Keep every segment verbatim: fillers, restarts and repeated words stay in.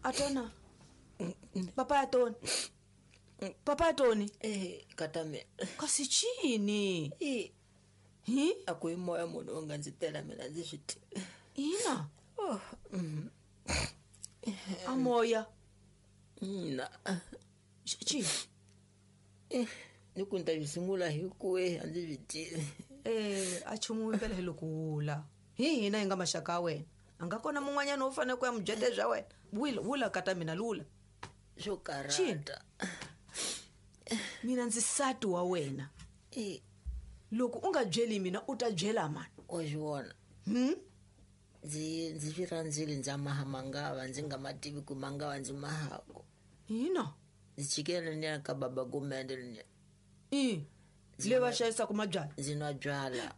Atona. Papa Atoni. Papa Atoni. Eh, katame. Kasi chini. Eh. Hi? Akuyi moya munhu u nga ndzi tela mina ndzi swi tivi. Ina. Oh. Mm. A moya. Ina. Chi. Eh, ni ku nta sungula hi ku eh a ndzi swi tivi. Eh, a chumu impela hi loko wula. Hi hina hi nga maxaka ya wena. A nga kona mun'wanyana wo fanele ku ya mubyete bya wena. Wula, wula kata mina lula. Swo karata. Mina ndzi sati wa wena. Eh. Loko u nga byeli mina u ta byela mani? Wa swi vona. Hmm? Ndzi ndzi swi rhandzile ndza maha mangava ndzi nga ma tivi ku mangava ndzi mahako. Ina. Ndzi chikele ni ya ka baba Gumende ni. I. Le va xavisaka mabyalwa. Ndzi nwa byala.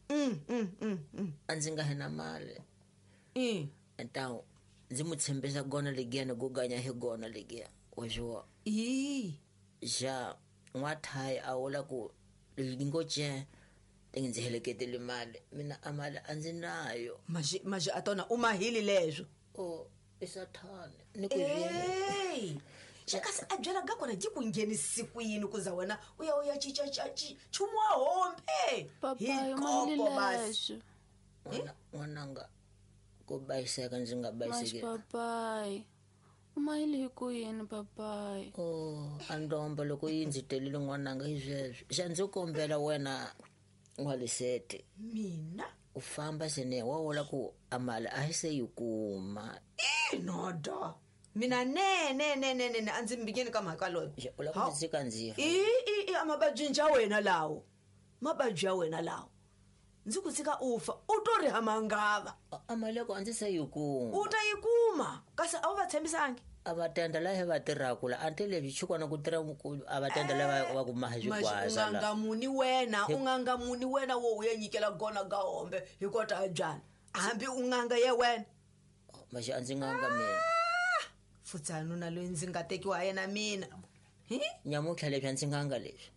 Mm mm mm mm. A ndzi nga hina mali. I. Ntawu ndzi mu tshembisa gona legiya go ganya hi gona legiya. Wa swi vona. I. Ja n'wathayi a vula ku ngo ce ndzi heleketele mali mina a mali a ndzi nayo. Maxi maxi a tona u mahili leswo. Oh, i sathane ni ku Hey! Kasi a byela ga kona ji ku nghenisi ku yini ku za wena u ya u ya chicha nchumu wa hombe. Papa, Hi u mahili kopo basi. leswo. N'wananga ku bayiseka ndzi nga Mas bayiseki. papai, u mahili hi ku yini papai? Oh, a ndomba loko yi ndzi telile n'wananga hi sweswo. Xa ndzi kombela wena n'walisete. Mina? U famba sene wa vula ku a mali a hi se yi kuma. I noda. Mina ne ne ne ne ne a ndzi mbikeni ka mhaka loyo. Ja, u lava ku ndzi tshika ndzi fa. I i i a mavabyi ya wena lawo. Mavabyi ya wena lawo. Ndzi ku tshika u fa u to ri hamangava. A mali ya ko a ndzi se yi kuma. U ta yi kuma kasi a wu va tshembisangi. A va tenda laha va tirhaka la a ni leswi chikwana ku tirha ku a va tenda lava va ku maha xigwaza u la. nga muni wena u nga muni wena wo u ya nyikela gona ga hombe hi kota a byala. Hambi u nganga ye wena. Maxi a ndzi nganga mina. Futsana na loyi ndzi nga tekiwa yena mina. Hi? Nyamutlha leswi a ndzi nganga leswi.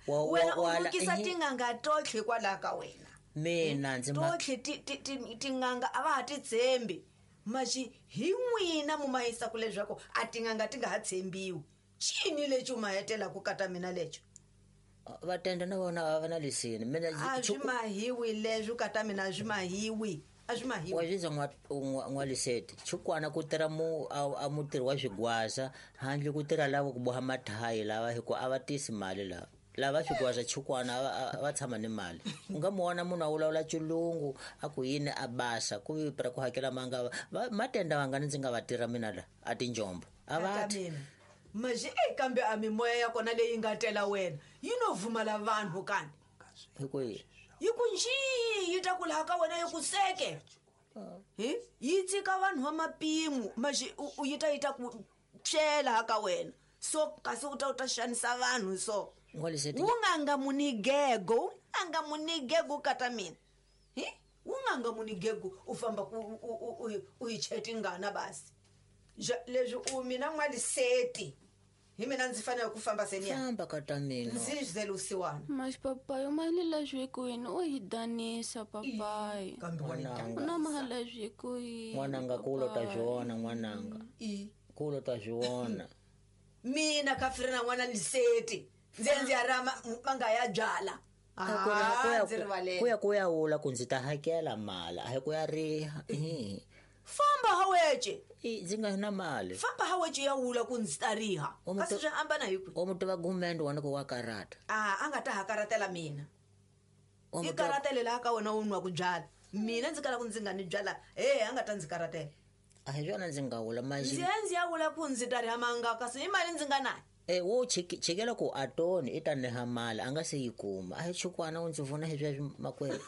Wa Wena wa u lukisa tinganga totlhe hikwalaho ka wena. Mina ndzi ma totlhe ti ti ti tinganga a va ha ti tshembi. Maxi hi n'wina mu mahisa ku leswaku a tinganga ti nga ha tshembiwi. Chini lexi u ma hetela ku kata mina lexo? Va tenda na vona a va na lisini. Mina a swi mahiwi leswi kata mina a swi mahiwi. A swi mahiwi. Wa swi n'wa n'wa liseti. Chukwana ku tirha mu a mutirhi wa xigwaza handle ku tirha lava ku boha mathayi lava hi ku a va tisi mali lava. Lava xigwaza chukwana a va tshama ni mali. U nga mu vona munhu a vulavula xilungu a ku yini a basa ku vi ku hakela mangava matenda vangani ndzi nga va tirha mina la a tinjombo. A va ti. Maxi e kambe a mimoya ya kona leyi nga tela wena yi no vumala vanhu kani. Hi ku yini? Yi ku njhi yi ta ku laha ka wena yi ku seke. Hi? Yi tshika vanhu va mapimo maxi u yi ta yi ta ku tshela ka wena. So kasi u ta u ta xanisa vanhu so. N'waliseti. Wu nganga munigego, wu nganga munigego kata mina. Hi? Wu nganga munigego u famba ku u u yi chetingana basi. Leswi u mina n'waliseti. Hi mina ndzi fanele ku famba seniya. Famba kata mina. Ndzi zele usiwana. Mas papai, u mahili leswi hi ku yini u hi danisa papai. Kambe wa U na mahali leswi hi ku yini. N'wananga ku lo ta swi vona n'wananga. I. Ku lo ta swi vona. Mina ka Frina n'wana Liseti. Ndzi ndzi ya rama manga ya byala. Ah, ndzi rivalela. Ku ya ku ya wula ku ndzi ta hakela mali a hi ku ya riha. Famba hawece. I ndzi nga na mali. Famba hawece ya wula ku ndzi ta riha. Kasi swi hambana hi ku. O muti wa Gumende wona ku wa karata. Ah, a nga ta hakaratela mina. I karatele laha ka wena u nwa ku byala. Mina ndzi kala ku ndzi nga ni byala. Eh, a nga ta ndzi karatela. A hi swona ndzi nga wula maxi. Ndzi ndzi ya wula ku ndzi ta riha manga kasi i mali ndzi nga nayo. Eh, wo chikela ku atoni i ta neha mali a nga se yi kuma. A hi chukwana u ndzi vona hi sweswi makwerhu.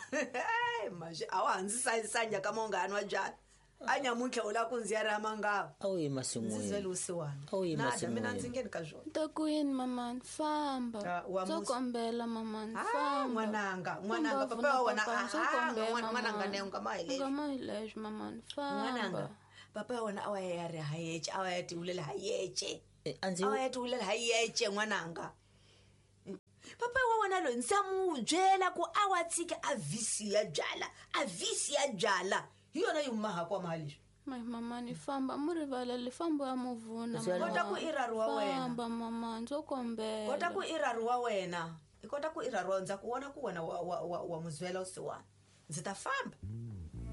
Maxi a wa ndzi sayisanya ka mongani wa byala. A nyamuntlha u lava ku ndzi ya riha mangava. A wu yi masin'wini. Ndzi zele usiwana. A wu yi Na mina ndzi masin'wini. ngheni ka swona. Ta ku yini mamani famba. Ndzo kombela mamani famba. N'wananga, n'wananga papa wa wena a n'wananga ne u nga ma hi leswi. U nga ma hi leswi mamani famba. N'wananga papa wa wena a wa ya riha yece, a wa ya tivulela ha yece. A ndzi A wa ya tivulela ha yece n'wananga. Papa wa wena loyi ndza mu byela ku a wa tshike a visi ya byala a visi ya byala hi yona yi humahaka wa mali leswi. Mai mama ni famba mu rivaleli famba ya muvuna. Kota ku i rari wa wena. Famba mama ndzo kombela. Kota ku i rari wa wena. I kota ku i rari wa ndza ku vona ku wena wa wa wa, wa muzwela usiwana. Ndzi ta famba.